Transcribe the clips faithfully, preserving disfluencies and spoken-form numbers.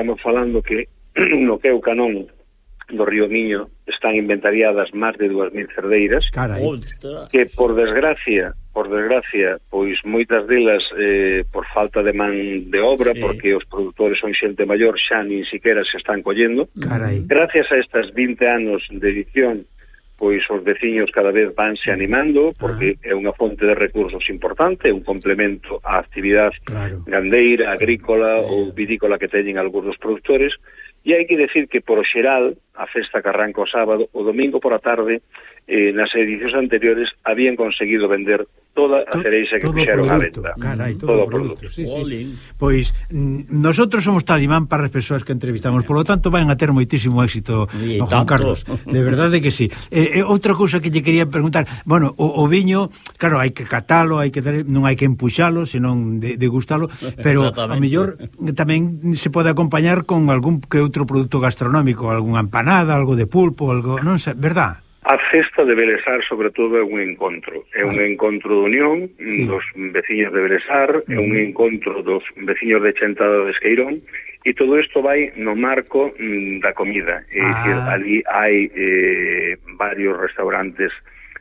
estamos falando que no que é o canón do río Miño están inventariadas máis de dúas mil cerdeiras. Carai. Que por desgracia, por desgracia, pois moitas delas eh, por falta de man de obra, sí. Porque os produtores son xente maior, xa nin siquiera se están collendo. Carai. Gracias a estas vinte anos de edición, pois os veciños cada vez vanse animando, porque ah. é unha fonte de recursos importante, un complemento á actividade claro. gandeira, agrícola sí. ou vinícola que teñen algúns dos produtores. E hai que decir que, por o xeral, a festa que arranca o sábado, o domingo por a tarde, eh, nas edicións anteriores, habían conseguido vender toda a cereixa que fixeron á venda. Carai, todo, todo o produto. Sí, sí. Pois, nosotros somos talimán para as persoas que entrevistamos, por lo tanto, van a ter moitísimo éxito, don Juan Carlos. De verdade que sí. Eh, eh, outra cousa que lle quería preguntar, bueno, o, o viño, claro, hai que catalo, hai que dar, non hai que empuxalo, senón de, de gustalo, pero a mellor tamén se pode acompañar con algún que outro produto gastronómico, algunha empanada, algo de pulpo, algo, non sei, verdad? A festa de Belesar, sobre todo, é un encontro. É un encontro de unión sí. dos veciños de Belesar, é un encontro dos veciños de Chentada de Esqueirón, e todo isto vai no marco mm, da comida. É ah. dicir, ali hai eh, varios restaurantes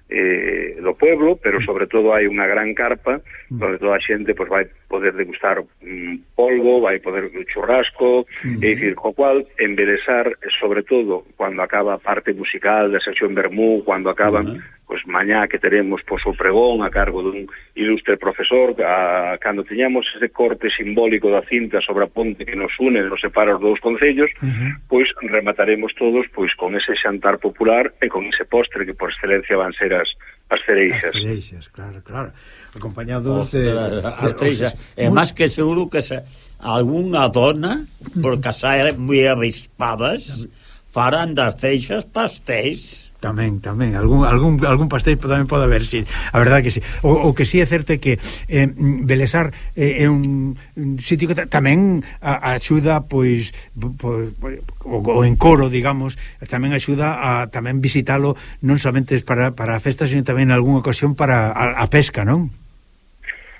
eh, do pueblo, pero sobre todo hai unha gran carpa onde toda a xente pues, vai poder degustar um, polvo, vai poder churrasco, uh-huh. é dicir, co cual en Belesar, sobre todo cando acaba a parte musical da sección Bermú, cando acaban uh-huh. pues mañá que teremos pues, o pregón a cargo dun ilustre profesor, a, cando teñamos ese corte simbólico da cinta sobre a ponte que nos une, nos separa os dous concellos, uh-huh. pois remataremos todos pois con ese xantar popular e con ese postre que por excelencia van ser as, as cereixas. As cereixas, claro, claro. Acompañados de... As cereixas. É máis que seguro que se, algunha dona, por casar moi avispadas, farán das cereixas pastéis. Tamén, tamén, algún algún algún pastel tamén pode haber, sí, a verdade que sí. O, o que sí é certo é que eh, Belesar eh, é un, un sitio que tamén a, a axuda pois po, o, o encoro, digamos, tamén axuda a tamén visitalo non somente para para a festa, sino tamén en algunha ocasión para a, a pesca, non?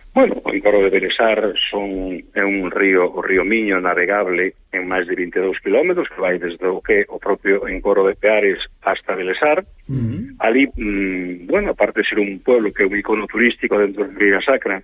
Bueno, o encoro de Belesar son, é un río, o río Miño, navegable en máis de vinte e dous kilómetros, que vai desde o que o propio encoro de Peares hasta Belesar. Uh-huh. Ali, mmm, bueno, aparte de ser un pueblo que é un icono turístico dentro de Ribeira Sacra,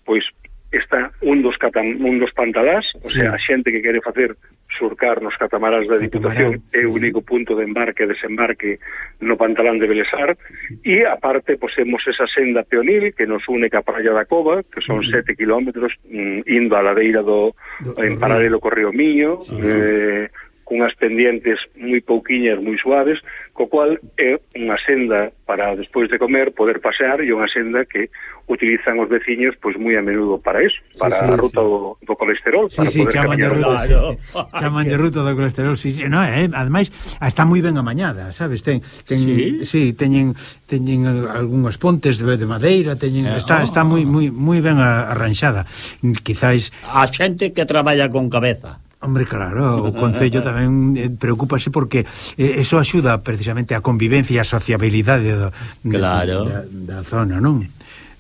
pois está un dos, catam, un dos pantalás, o sí. sea, a xente que quere facer surcar nos catamarás da Diputación é o único punto de embarque e desembarque no pantalán de Belesar, e aparte posemos esa senda peonil que nos une ca Praia da Cova, que son uh-huh. sete kilómetros mm, indo á ladeira do, do en paralelo co río Miño, sí, eh, cunhas pendientes moi pouquiñas, moi suaves, co cual é unha senda para despois de comer poder pasear, e unha senda que utilizan os veciños pois moi a menudo para eso, para sí, sí, a ruta sí. do, do colesterol, sí, para sí, poder chaman de ruta, claro. sí, sí. chaman de ruta do colesterol, sí, sí. No, eh, ademais está moi ben amañada, sabes? Ten, ten sí, sí teñen teñen algunhas pontes de, de madeira, teñen eh, está oh. está moi moi moi ben arranxada. Quizáis a xente que traballa con cabeza. Hombre, claro, o Concello tamén eh, preocúpase porque eh, eso axuda precisamente a convivencia e a sociabilidade do, claro. da, da zona, non?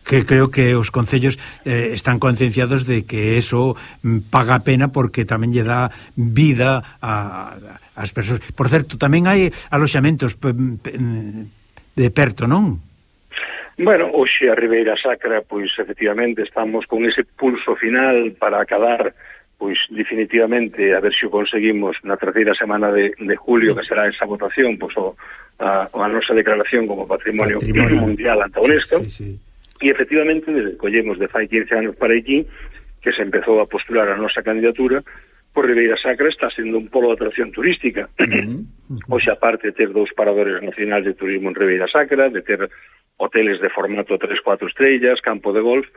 Que creo que os concellos eh, están concienciados de que eso mm, paga a pena porque tamén lle dá vida a, a, as persoas. Por certo, tamén hai aloxamentos pe, pe, de perto, non? Bueno, hoxe a Ribeira Sacra, pois efectivamente estamos con ese pulso final para acadar pois definitivamente a ver se o conseguimos na terceira semana de, de julio, que será esa votación, pois o, a, a nosa declaración como Patrimonio, Patrimonio. Mundial ante a UNESCO, sí, sí. E efectivamente desde collemos de fai quince anos para aquí que se empezou a postular a nosa candidatura, por Ribeira Sacra está sendo un polo de atracción turística. Uh-huh. Uh-huh. Oxe, aparte de ter dous paradores nacionais de turismo en Ribeira Sacra, de ter hoteles de formato tres, cuatro estrellas, campo de golf,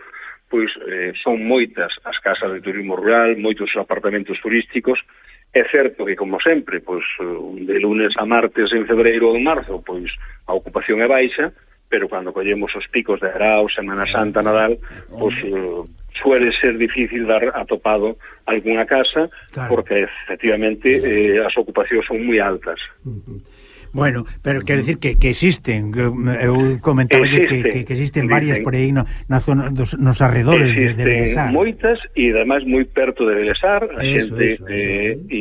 pois eh, son moitas as casas de turismo rural, moitos apartamentos turísticos. É certo que, como sempre, pois de lunes a martes en febreiro ou en marzo, pois a ocupación é baixa, pero cando collemos os picos de Arao, Semana Santa, Nadal, pois eh, suele ser difícil dar atopado algunha casa, claro. porque efectivamente eh, as ocupacións son moi altas. Uh-huh. Bueno, pero quero decir que, que existen, que eu comentaba que, que, que existen varias por aí no, na zona, dos, nos arredores de, de Belesar. Existen moitas e ademais moi perto de Belesar, a eso, xente eso, eso, eh, eh.